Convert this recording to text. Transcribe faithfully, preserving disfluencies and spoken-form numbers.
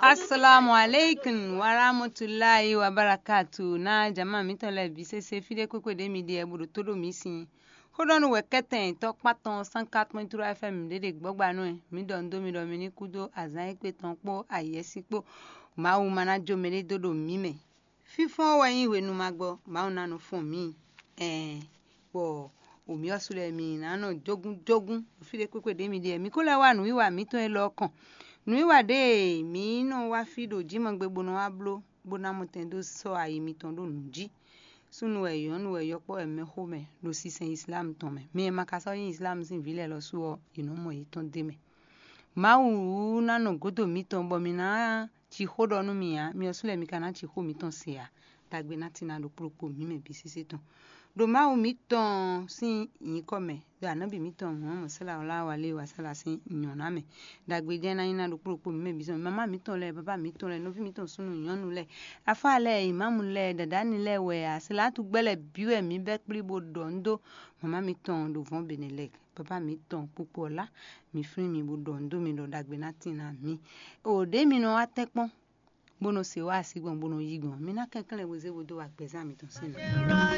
Assalamu alaikum warahmatullahi wabarakatuh. Na jama mǐtɔn lɛ́ɛ bǐ sésé fí ɖé kpékpé ɖě mi ɖe bo ɖo tó ɖo mǐ sin. Xó ɖɔ nú wɛ kɛ́tɛn tɔ́ kpán tɔn cent quatre point trois F M ɖě ɖe gbɔ́gba nú ɛ. Mǐ ɖɔ nǔ dó mi ɖɔ mi ní kú dó azǎn e kpé tɔn kpó ayǐ ɛ sí kpó. Mawu ma ná jó mɛɖé dó ɖo mǐ mɛ. Fínfɔ́n wɛ nyí hwenu ma gbɔ, Mawu ná nɔ fɔ́n mǐ. Ɛɛ, bɔ wǒmyɔ́ sú lɛ́ɛ mi ná nɔ jógún jógún fí ɖé kpékpé ɖě mi ɖe. Mǐ ko lɛ́ wá nǔwiwa mǐtɔn élɔ́ kɔn. Nǔwiwa ɖé e mǐ nɔ wá fí ɖo jǐmɔgbe bó nɔ wá bló, bó ná mɔtɛn dó sɔ́ ayi mitɔn ɖó nǔ jí. Súnnu wɛ, nyɔ̌nu wɛ, yɔkpɔ́ wɛ, mɛxó mɛ ɖo sinsɛn Islam tɔn mɛ. Mi e ma ka sɔ́ nyí Islam sín vǐ lɛ́ɛ lɔ sú ɔ́, è nɔ́ mɔ yětɔn d'é mɛ. Mawu ná nɔ gǒdo mitɔn bɔ mi ná ci xó ɖɔ nú mi ǎ, mi ɔ́ sú lɛ́ɛ mi ka ná ci xó mitɔn se ǎ. Dagbe ná tín ná ɖo kplokpo mǐ mɛ bǐ sésé tɔn. Ɖo Mawu mǐtɔn sín nyǐkɔ mɛ, ɖo anɔ̌bi mǐtɔn Muhammad sallallahu alaihi wa sallam sín nyɔ̌ná mɛ. Dagbe jɛ́n ná nyí ná ɖo kplokpo mǐ mɛ bǐ sɔn. Mama mǐtɔn lɛ́ɛ, baba mǐtɔn lɛ́ɛ, nɔví mǐtɔn súnnu nyɔ̌nu lɛ́ɛ, afá lɛ́ɛ, imamu lɛ́ɛ, dadani lɛ́ɛ wɛ a, salatu gbɛ́ lɛ́ɛ bǐ wɛ mǐ bɛ́ kplí bó ɖɔ nǔ dó mama mǐtɔn ɖo vɔ̌n Benelɛk. Baba mǐtɔn kpokpo ɔ́ lá, mǐ flín mi bó ɖɔ nǔ dó mi ɖɔ dagbe ná tín ná mǐ. O ɖě mi nɔ wá tɛ́nkpɔ́n bó nɔ se wá así gbɔn bó nɔ yí gbɔn. Mi ná kɛnklɛ́n bó zé bó dó wá gbɛzán mitɔn sín nɔ.